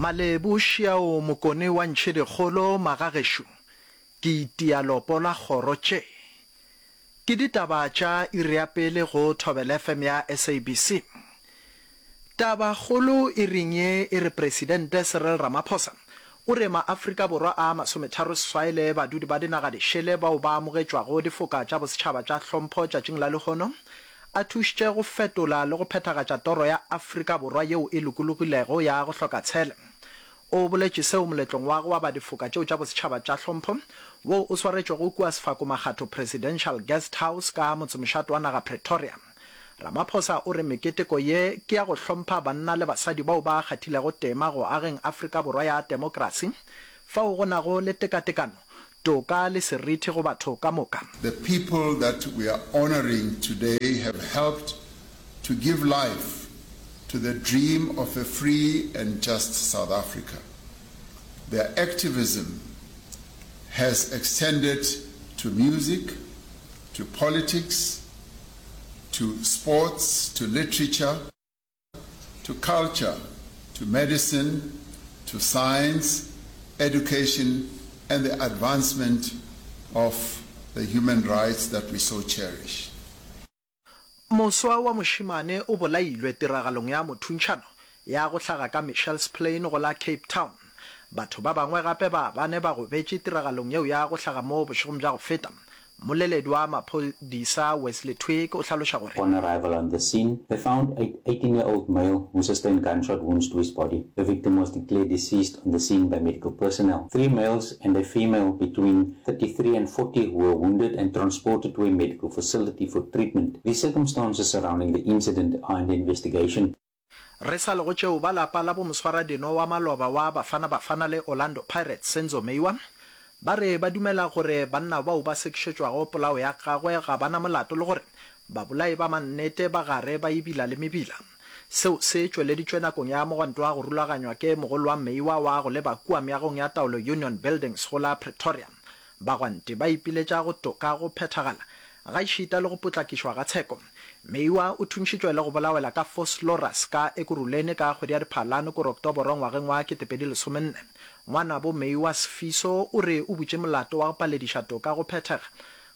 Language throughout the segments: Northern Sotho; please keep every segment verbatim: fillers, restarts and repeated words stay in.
Malebu šiao Mokone wa Ntšhedikgolo magagešo ke itia lopo la kgoro tše. Ke ditaba tša iri ya pele go Thobela F M ya S A B C. Taba kgolo iring ye e re Presidente Cyril Ramaphosa o re maAfrika Borwa a masometharo seswai le badudi ba dinaga dišele bao ba amogetšwago difoka tša bosetšhaba tša hlompho tšatšing la lehono a thušitše go fetola le go phethagatša toro ya Afrika Borwa yeo e lokologilego ya go hloka tshele. O boletše seo moletlong wa go aba difoka tšeo tša bosetšhaba tša hlompho wo o swaretšwego kua Sefako Makgatho Presidential Guest House ka motsemošate wa naga Pretoria. Ramaphosa o re meketeko ye ke ya go hlompha banna le basadi bao ba kgathilego tema go ageng Afrika Borwa ya temokrasi fao go nago le tekatekano, toka le seriti go batho ka moka. The people that we are honouring today have helped to give life to the dream of a free and just South Africa. Their activism has extended to music, to politics, to sports, to literature, to culture, to medicine, to science, education, and the advancement of the human rights that we so cherish. Moswa wa mošemane o bolailwe tiragalong ya mothuntšhano ya go hlaga ka Mitchells Plain go la Cape Town. Batho ba bangwe gape ba bane ba gobetše tiragalong yeo ya go hlaga moo bošegong bja go feta. Mmoleledi wa maphodisa Wesley Twigg o hlaloša gore. On arrival on the scene, they found a eighteen year old male who sustained gunshot wounds to his body. The victim was declared deceased on the scene by medical personnel. Three males and a female between thirty-three and forty were wounded and transported to a medical facility for treatment. The circumstances surrounding the incident are under investigation. Re sa le go tšeo, ba lapa la bomoswaradino wa maloba wa Bafana Bafana le Orlando Pirates Senzo Meyiwa ba re ba dumela gore banna bao ba sekišetšwago polao ya gagwe ga ba na molato le gore babolai ba mannete ba gare ba ebila le mebila. Seo se tšweleditšwe nakong ya mogwanto wa go rulaganywa ke mogolo wa Meyiwa wa go leba kua meagong ya taolo Union Buildings go la Pretoria. Bagwanti ba ipiletša go toka go phethagala gaešita le go potlakišwa ga tsheko. Meyiwa o thuntšhitšwe le go bolawela ka Vosloorus ka Ekurhuleni ka kgwedi ya Diphalane kore Oktoboro ngwageng wa ketepedi lesomenne. Ngwanabo Meyiwa Sfiso o re o butše molato wa go palediša toka go phethega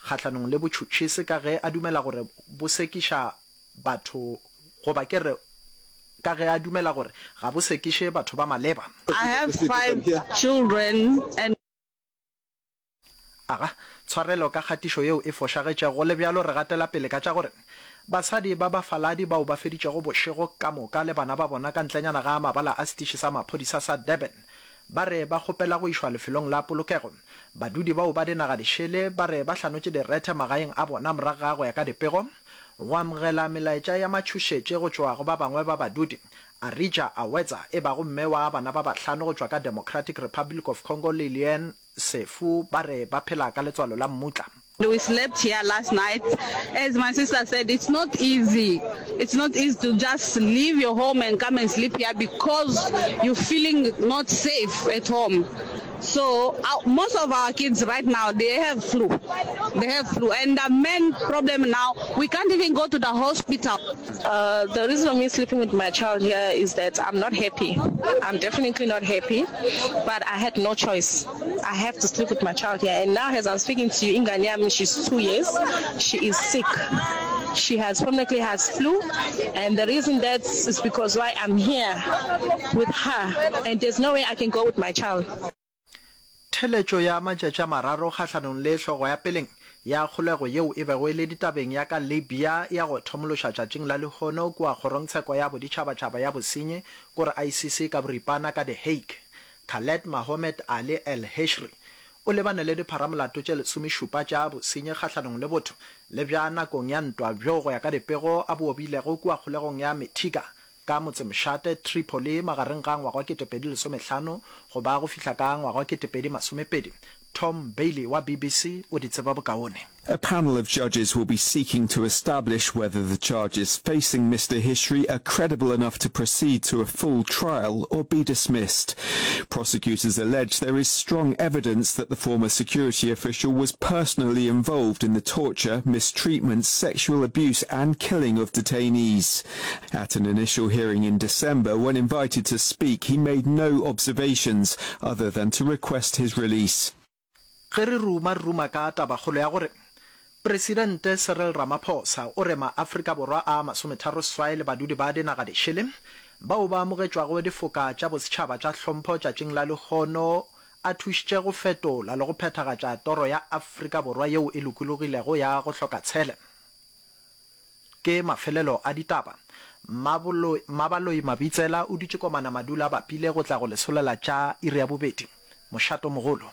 kgahlanong le botšhotšhisi ka ge a dumela gore bo sekiša batho goba ke re ka ge a dumela gore ga bo sekiše batho ba maleba. I have five children and Aga, tshwarelo ka kgatišo yeo e fošagetšego. Go le bjalo, re gatela pele ka tša gore basadi ba bafaladi bao ba feditšego bošego ka moka le bana ba bona ka ntlenyana ga mabala a setiši sa maphodisa sa Durban ba re ba kgopela go išwa lefelong la polokego. Badudi bao ba dinaga dišele ba re ba hlanotše direthe magaeng a bona morago ga go ya ka dipego go amogela melaetša ya matšhošetše go tšwa go ba bangwe ba badudi. Arija Awetsa e bago mme wa bana ba bahlano go tšwa ka Democratic Republic of Congo le Lien Sefu ba re ba phela ka letswalo la mmutla. We slept here last night. As my sister said, it's not easy. It's not easy to just leave your home and come and sleep here because you're feeling not safe at home. So uh, most of our kids right now, they have flu. They have flu. And the main problem now, we can't even go to the hospital. Uh, the reason of me sleeping with my child here is that I'm not happy. I'm definitely not happy, but I had no choice. I have to sleep with my child here. And now, as I'm speaking to you, ingane yami, she's two years. She is sick. She has permanently has flu, and the reason that is because why I'm here with her, and there's no way I can go with my child. Theletšo ya matšatši a mararo kgahlanong le hlogo ya peleng ya kgolego yeo e bego e le ditabeng ya ka Libya ya go thomološa tšatšing la lehono kua kgorongtsheko ya boditšhabatšhaba ya bosenyi kore I C C ka boripana ka The Hague. Khaled Mahomed Ali El Hishri o lebane le dipharamolato tše lesomešupa tša bosenyi kgahlanong le botho le bja nakong ya ntwa bjo go ya ka dipego a bo obilego kua kgolegong ya Mitiga ka motsemošate Tripoli magareng ga ngwaga wa ketepedi lesomehlano go ba go fihla ka ngwaga wa ketepedi masomepedi. Tom Bailey wa BBC o di tseba bokaone. A panel of judges will be seeking to establish whether the charges facing Mr Hishri are credible enough to proceed to a full trial or be dismissed. Prosecutors allege there is strong evidence that the former security official was personally involved in the torture, mistreatment, sexual abuse and killing of detainees. At an initial hearing in December, when invited to speak, he made no observations other than to request his release. Ge re ruma re ruma ka tabakgolo ya gore Presidente Cyril Ramaphosa o re maAfrika Borwa a masometharo seswai le badudi ba dinaga dišele bao ba amogetšwago difoka tša bosetšhaba tša hlompho tšatšing la lehono a thušitše go fetola le go phethagatša toro ya Afrika Borwa yeo e lokologilego ya go hloka tshele. Ke mafelelo a ditaba. Mmabaloi Mabitsela o dutše komana madula a bapile go tla go lesolela tša iri ya bobedi. Mošato mogolo.